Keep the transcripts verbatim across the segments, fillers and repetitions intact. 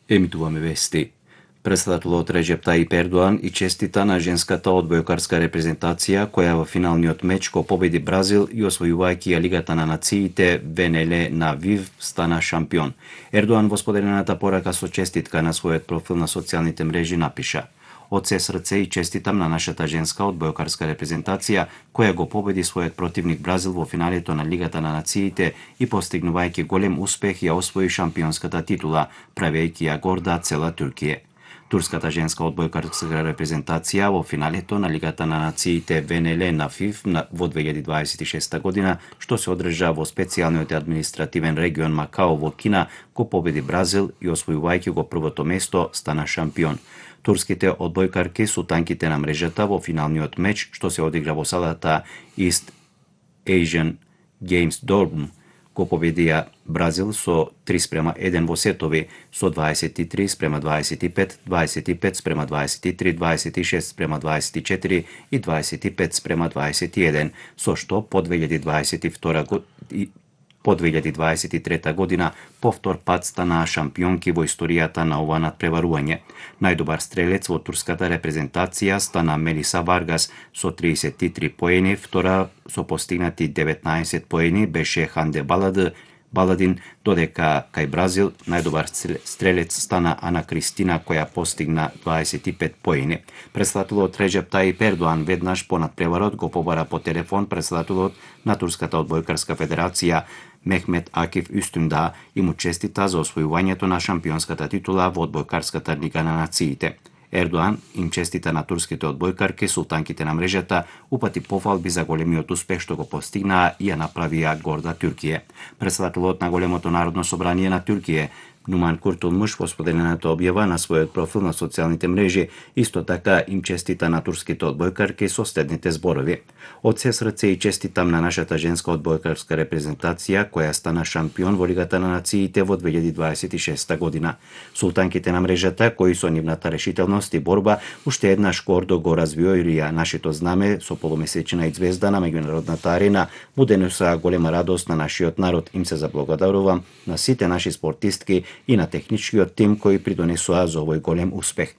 Емитуваме вести. Председателот Реджеп Тајип Ердоан и честита на женската одбојкарска репрезентација која во финалниот меч го победи Бразил и освојувајќи ја Лигата на нациите ВНЛ на ВИВ стана шампион. Ердоан во споделената порака со честитка на својот профил на социјалните мрежи напиша: Од се срце и честитам на нашата женска одбојкарска репрезентација која го победи својот противник Бразил во финалето на Лигата на нациите и постигнувајќи голем успех ја освои шампионската титула, правејќи ја горда цела Туркија. Турската женска одбојкарска репрезентација во финалето на Лигата на нациите ВНЛ на ФИФ во две илјади дваесет и шеста година, што се одржа во специјалниот административен регион Макао во Кина, го победи Бразил и освојувајќи го првото место стана шампион. Турските одбојкарки султанките на мрежата во финалниот меч што се одигра во салата East Asian Games Dortmund го победија Бразил со три спрема еден во сетови, со дваесет и три спрема дваесет и пет, дваесет и пет спрема дваесет и три, дваесет и шест спрема дваесет и четири и дваесет и пет спрема дваесет и еден, со што по две илјади дваесет и втора година По две илјади дваесет и трета година повтор пат стана шампионки во историјата на ова надпреварување. Најдобар стрелец во турската репрезентација стана Мелиса Варгас со триесет и три поени, втора со постигнати деветнаесет поени беше Ханде Балад Баладин, додека кај Бразил најдобар стрелец стана Ана Кристина која постигна дваесет и пет поени. Председателот Реджеп Тајип Ердоан веднаш по надпреварот го побара по телефон председателот на Турската одбојкарска федерација Мехмет Акиф Үстүнда и му честита за освојувањето на шампионската титула во одбојкарската лига на нациите. Ердоан им честита на турските одбојкарки, султанките на мрежата, упати пофалби за големиот успех што го постигнаа и ја направија горда Туркија. Председателот на големото народно собрание на Туркија Нуман Куртулмуш во споделената објава на својот профил на социјалните мрежи исто така им честита на турските одбојкарки со следните зборови: Од се срце и честитам на нашата женска одбојкарска репрезентација која стана шампион во Лигата на нациите во две илјади дваесет и шеста година. Султанките на мрежата кои со нивната решителност и борба уште еднаш гордо го развиорија нашето знаме со полумесечна и звезда на меѓународната арена, му денесоа голема радост на нашиот народ. Им се заблагодарувам на сите наши спортистки и на техничкиот тим кои придонесоа за овој голем успех.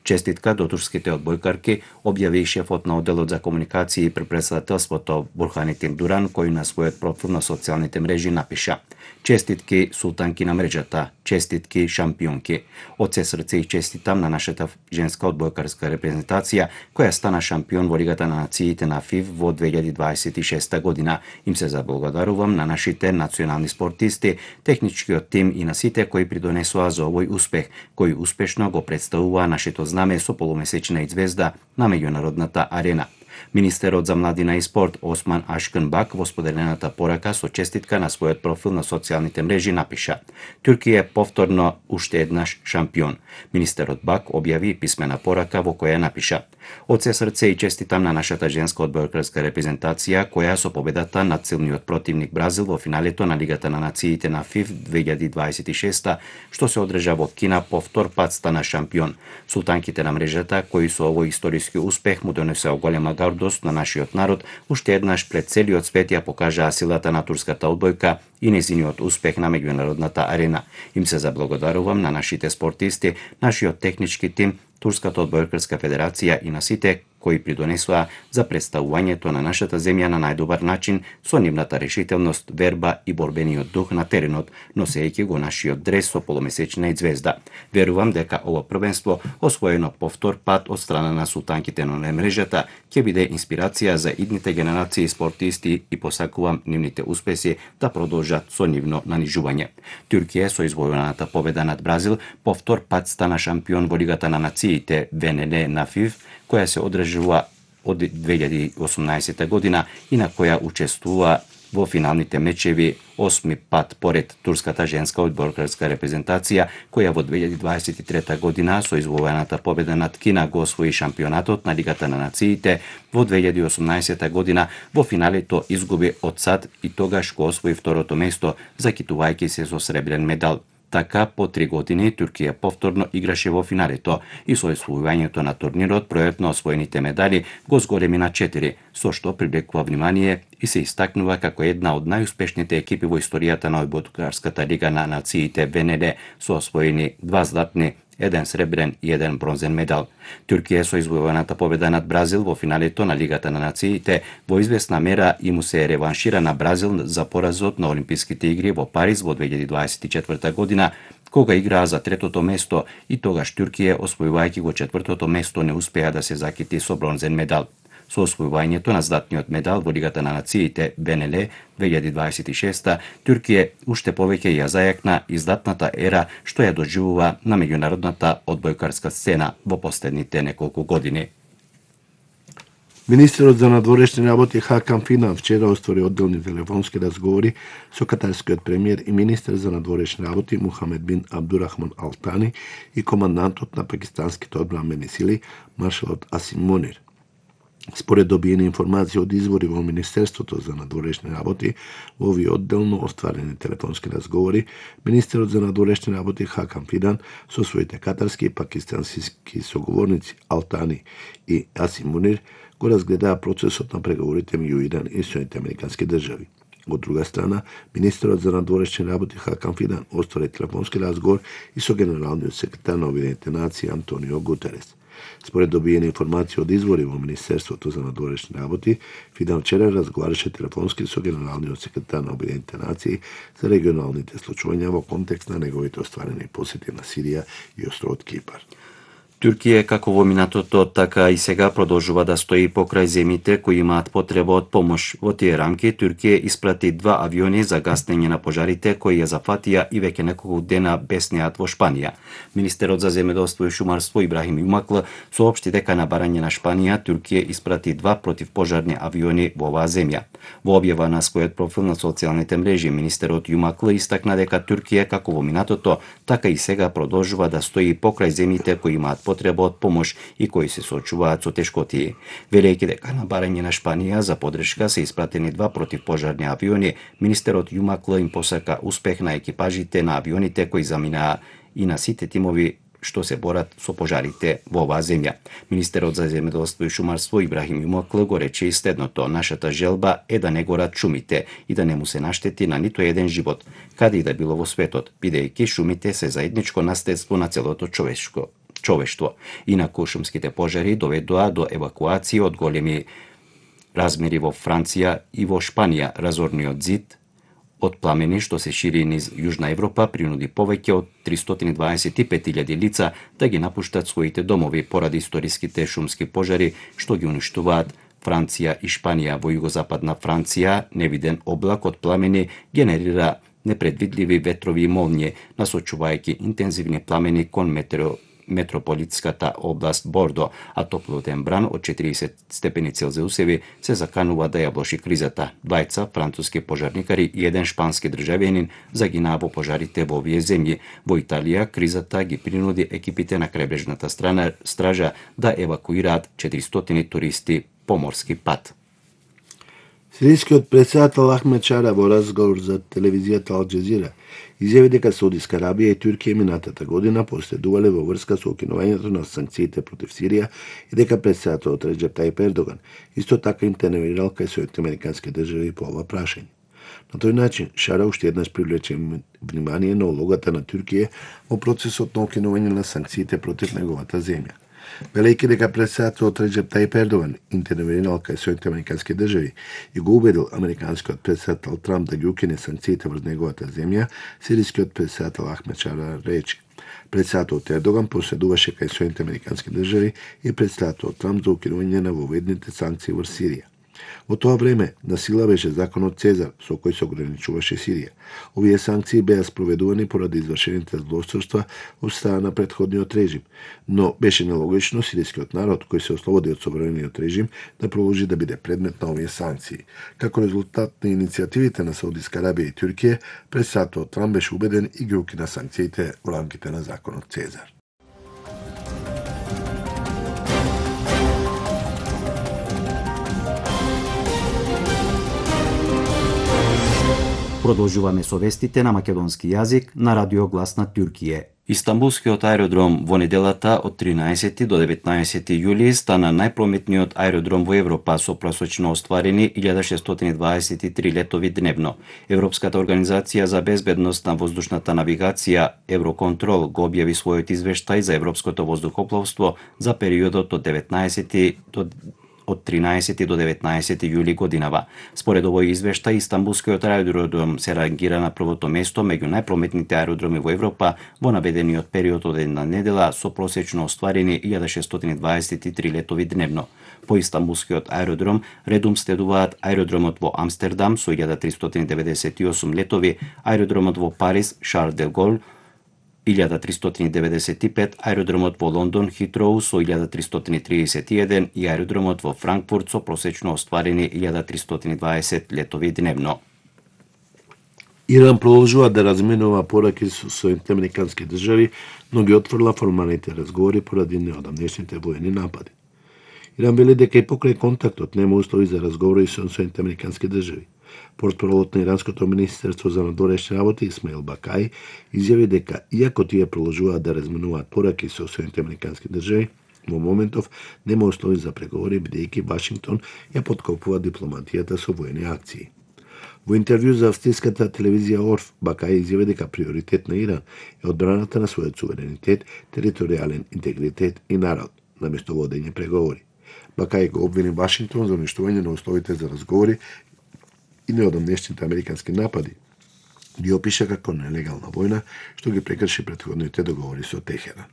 Честитка до турските одбојкарки објави шефот на одделот за комуникации при председателството Бурханетин Дуран, кој на својот профил на социјалните мрежи напиша: Честитки султанки на мрежата, честитки шампионки. Од се срце и честитам на нашата женска одбојкарска репрезентација која стана шампион во Лигата на нациите на ФИФ во две илјади дваесет и шеста година. Им се заблагодарувам на нашите национални спортисти, техничкиот тим и на сите кои придонесоа за овој успех, кои успешно го представуваа нашето знаме со полумесечна и звезда на меѓународната арена. Министерот за младина и спорт Осман Ашкан Бак во споделената порака со честитка на својот профил на социјалните мрежи напиша: Туркија е повторно уште еднаш шампион. Министерот Бак објави писмена порака во која напиша: Од се срце и честитам на нашата женска одбојкарска репрезентација која со победата над силниот противник Бразил во финалето на Лигата на нациите на ФИФ две илјади дваесет и шеста што се одржа во Кина повтор пат стана шампион. Султанките на мрежата кои со овој историски успех му донесеа голема гордост на нашиот народ, уште еднаш пред целиот свет ја покажаа силата на турската одбојка и незиниот успех на меѓународната арена. Им се заблагодарувам на нашите спортисти, нашиот технички тим, Турската одбојкарска федерација и на сите кои придонесоа за представувањето на нашата земја на најдобар начин со нивната решителност, верба и борбениот дух на теренот, носејќи го нашиот дрес со полумесечна и звезда. Верувам дека ова првенство, освоено повтор пат од страна на султанките на мрежата, ќе биде инспирација за идните генерации спортисти и посакувам нивните успеси да продолжат со нивно нанижување. Туркија со извојуваната победа над Бразил повтор пат стана шампион во Лигата на нациите ВНЛ на ФИФ, која се одржува од две илјади и осумнаесета година и на која учествува во финалните мечеви осми пат поред турската женска одбојкарска репрезентација, која во две илјади дваесет и трета година со извојуваната победа над Кина го освои шампионатот на Лигата на нациите, во две илјади и осумнаесета година во финалето изгуби од САД и тогаш го освои второто место, закитувајќи се со сребрен медал. Така, по три години Туркија повторно играше во финалето и со освојувањето на турнирот бројот на освоените медали го зголеми на четири, со што привлекува внимание и се истакнува како една од најуспешните екипи во историјата на Одбојкарската лига на нациите Ве Ен Ел со освоени два златни, еден сребрен и еден бронзен медал. Туркија со извојуваната победа над Бразил во финалето на Лигата на нациите во известна мера и му се реваншира на Бразил за поразот на Олимписките игри во Париз во две илјади дваесет и четврта година, кога играа за третото место и тогаш Туркија, освојувајќи го четвртото место, не успеа да се закити со бронзен медал. Со освојувањето на златниот медал во Лигата на нациите Ве Ен Ел две илјади дваесет и шеста, Туркија уште повеќе ја зајакна издатната ера што ја доживува на меѓународната одбојкарска сцена во последните неколку години. Министерот за надворешни работи Хакан Фидан вчера оствари одделни телефонски разговори со катарскиот премиер и министер за надворешни работи Мухамед бин Абдурахман Ал Тани и командантот на пакистанските одбранбени сили маршалот Асим Мунир. Според добиени информации од извори во Министерството за надворешни работи, во овие одделно остварени телефонски разговори, министерот за надворешни работи Хакан Фидан со своите катарски и пакистански соговорници Ал Тани и Асим Мунир го разгледаа процесот на преговорите меѓу Иран и Соединетите американски држави. Од друга страна, министерот за надворешни работи Хакан Фидан оствари телефонски разговор и со генералниот секретар на Обединетите нации Антонио Гутерес. Според добиени информации од извори во Министерството за надворешни работи, Фидан вчера разговараше телефонски со генералниот секретар на Обединетите нации за регионалните случувања во контекст на неговите остварени посети на Сирија и островот Кипар. Туркија, како во минатото, така и сега продолжува да стои покрај земјите кои имаат потреба од помош. Во тие рамки, Туркија испрати два авиони за гаснење на пожарите кои ја зафатија и веќе неколку дена беснеат во Шпанија. Министерот за земјоделство и шумарство Ибрахим Јумакл соопшти дека на барање на Шпанија, Туркија испрати два противпожарни авиони во оваа земја. Во објава на својот профил на социјалните мрежи, министерот Јумакл истакна дека Туркија, како во минатото, така и сега продолжува да стои покрај земјите кои имаат потреба од помош и кои се соочуваат со тешкотии. Велејќи дека на барање на Шпанија за подршка се испратени два противпожарни авиони, министерот Јумакл им посака успех на екипажите на авионите кои заминаа и на сите тимови што се борат со пожарите во оваа земја. Министерот за земјоделство и шумарство Ибрахим Јумакл го рече и следното: нашата желба е да не горат шумите и да не му се наштети на ниту еден живот, каде и да било во светот, бидејќи шумите се заедничко наследство на целото човечко човештво. Инаку шумските пожари доведоа до евакуација од големи размери во Франција и во Шпанија. Разорниот зид од пламени што се шири низ Јужна Европа принуди повеќе од тристотини дваесет и пет илјади лица да ги напуштат своите домови поради историските шумски пожари што ги уништуваат Франција и Шпанија. Во југозападна Франција невиден облак од пламени генерира непредвидливи ветрови и молњи, насочувајќи интензивни пламени кон метео метрополитската област Бордо, а топлотен бран од четириесет степени Целзиусеви се заканува да ја влоши кризата. Двајца француски пожарникари и еден шпански државјанин загинаа во пожарите во овие земји. Во Италија кризата ги принуди екипите на крајбрежната страна стража да евакуираат четиристотини туристи по морски пат. Сирискиот претседател Ахмед Шара во разговор за телевизијата Ал Џезира изјави дека Саудиска Арабија и Туркија минатата година последувале во врска со укинувањето на санкциите против Сирија и дека претседателот Реџеп Тајип Ердоган исто така интервенирал кај Соединетите американски држави по ова прашање. На тој начин Шара уште еднаш привлече внимание на улогата на Туркија во процесот на укинување на санкциите против неговата земја. Велејќи дека претседателот Реџеп Тајип Ердоган интервенирал кај Соединетите американски држави и го убедил американскиот претседател Трамп да ги укине санкциите врз неговата земја, сирискиот претседател Ахмед Шара рече: претседателот Ердоган проследуваше кај Соединетите американски држави и претседателот Трамп за укинување на воведните санкции врз Сирија. Во тоа време на сила беше законот Цезар, со кој се ограничуваше Сирија. Овие санкции беа спроведувани поради извршените злосторства од страна на претходниот режим, но беше нелогично сирискиот народ, кој се ослободи од собраниот режим, да продолжи да биде предмет на овие санкции. Како резултат на иницијативите на Саудиска Арабија и Туркија, претседателот Трамп беше убеден и ги укина санкциите во рамките на законот Цезар. Продолжуваме со вестите на македонски јазик на Радио Глас на Туркија. Истанбулскиот аеродром во неделата од тринаесети до деветнаесети јули стана најпрометниот аеродром во Европа со просечно остварени илјада шестстотини дваесет и три летови дневно. Европската организација за безбедност на воздушната навигација Евроконтрол го објави својот извештај за европското воздухопловство за периодот од деветнаесети до од тринаесети до деветнаесети јули годинава. Според овој извештај, Истанбулскиот аеродром се рангира на првото место меѓу најпрометните аеродроми во Европа во наведениот период од една недела со просечно остварени илјада шестстотини дваесет и три летови дневно. По Истанбулскиот аеродром редум следуваат аеродромот во Амстердам со илјада тристотини деветдесет и осум летови, аеродромот во Париз Шарл де Гол илјада тристотини деветдесет и пет, аеродромот во Лондон Хитроу со илјада тристотини триесет и еден и аеродромот во Франкфурт со просечно остварени илјада тристотини дваесет летови дневно. Иран продолжува да разменува пораки со Соединетите американски држави, но ги отфрла формалните разговори поради неодамнешните воени напади. Иран вели дека и покрај контактот нема услови за разговори со Соединетите американски држави. Портпаролот на Иранското министерство за надворешни работи Исмаил Бакај изјави дека иако тие продолжуваат да разменуваат пораки со Соединетите американски држави, во моментов нема услови за преговори бидејќи Вашингтон ја поткопува дипломатијата со воени акции. Во интервју за австриската телевизија Орф, Бакај изјави дека приоритет на Иран е одбраната на својот суверенитет, територијален интегритет и народ, наместо водење преговори. Бакај го обвини Вашингтон за уништување на условите за разговори и неодамнешните американски напади, ги опиша како нелегална војна, што ги прекрши претходните договори со Техеран.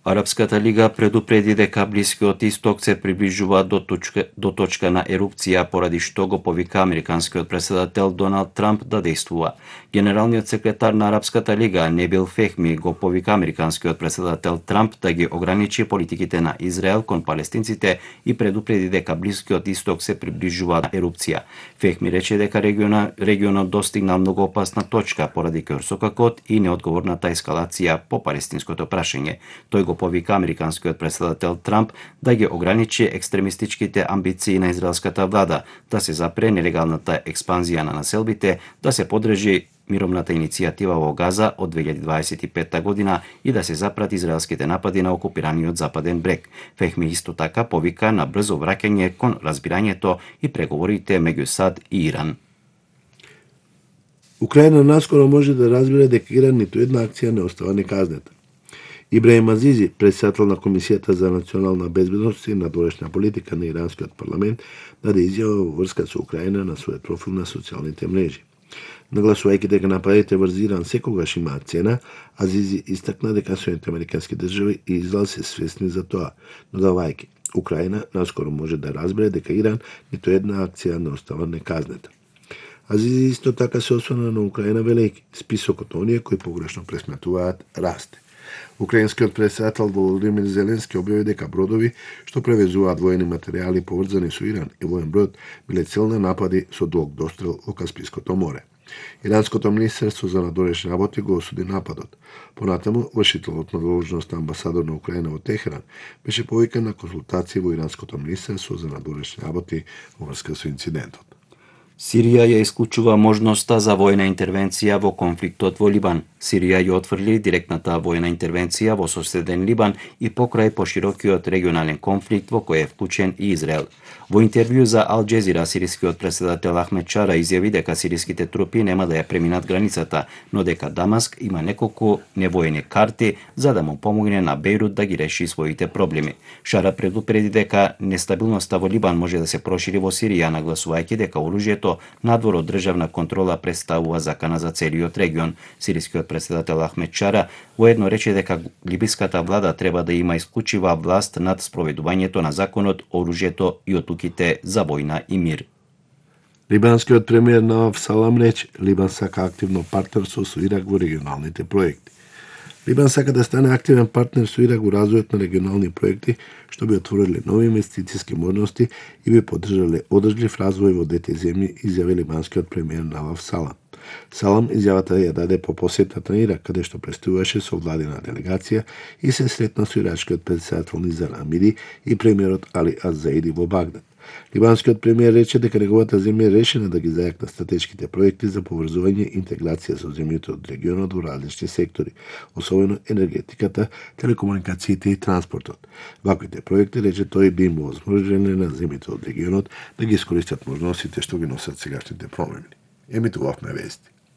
Арапската лига предупреди дека Блискиот Исток се приближува до точка, до точка на ерупција, поради што го повика американскиот претседател Доналд Трамп да действува. Генералниот секретар на Арапската лига Небил Фехми го повика американскиот претседател Трамп да ги ограничи политиките на Израел кон палестинците и предупреди дека Блискиот Исток се приближува на ерупција. Фехми рече дека региона, регионот достигнал многу опасна точка поради ќорсокакот и неодговорната ескалација по палестинското прашање. Тој го повика американскиот претседател Трамп да ги ограничи екстремистичките амбиции на израелската влада, да се запре нелегалната експанзија на населбите, да се подржи мировната иницијатива во Газа од две илјади дваесет и петта година и да се запрати израелските напади на окупираниот Западен брег. Фехми исто така повика на брзо враќање кон разбирањето и преговорите меѓу САД и Иран. Украина наскоро може да разбере дека Иран ниту една акција не остава неказнета. Ибраим Азизи, председател на Комисијата за национална безбедност и надворешна политика на иранскиот парламент, даде изјава во врска со Украина на својот профил на социјалните мрежи. Нагласувајќи дека нападите врз Иран секогаш имаат цена, Азизи истакна дека Соединетите американски држави и Израел се свесни за тоа, додавајќи Украина наскоро може да разбере дека Иран ниту една акција не остава неказнета. Азизи исто така се осврна на Украина велејќи списокот на оние кои погрешно пресметуваат расте. Украинскиот председател Володимир Зеленски објави дека бродови што превезуваат воени материјали поврзани со Иран и воен брод биле цел на напади со долг дострел во Каспиското море. Иранското министерство за надворешни работи го осуди нападот. Понатаму, вршителот на должност амбасадор на Украина во Техеран беше повикан на консултации во Иранското министерство за надворешни работи во врска со инцидентот. Сирија ја исклучува можноста за војна интервенција во конфликтот во Либан. Сирија ја отфрли директната војна интервенција во соседен Либан и покрај поширокиот регионален конфликт во кој е вклучен и Израел. Во интервју за Ал Джезира, сирискиот претседател Ахмед Чара изјави дека сириските трупи нема да ја преминат границата, но дека Дамаск има неколку невоени карти за да му помогне на Бејрут да ги реши своите проблеми. Шара предупреди дека нестабилноста во Либан може да се прошири во Сирија, нагласувајќи дека оружјето надвор од државна контрола представува закана за целиот регион. Сирискиот претседател Ахмед Чара воедно рече дека либиската влада треба да има исклучива власт над спроведувањето на законот, оружјето и одлуките за војна и мир. Либанскиот премиер Наваф Салам рече, Либан сака активно партнерство со Ирак во регионалните проекти. Либан сака да стане активен партнер со Ирак во развојот на регионални проекти, што би отвориле нови инвестициски можности и би поддржале одржлив развој во двете земји, изјави либанскиот премиер Наваф Салам. Салам изјавата ја даде по посетата на Ирак, каде што претставуваше со владина делегација и се сретна со ирачкиот претседател Низар Амири и премиерот Али Аз Заиди во Багдад. Либанскиот премиер рече дека неговата земја е решена да ги зајакна стратешките проекти за поврзување и интеграција со земјите од регионот во различни сектори, особено енергетиката, телекомуникациите и транспортот. Ваквите проекти, рече тој, би им овозможиле на земјите од регионот да ги искористат можностите што ги носат сегашните промени. Емитувавме вести.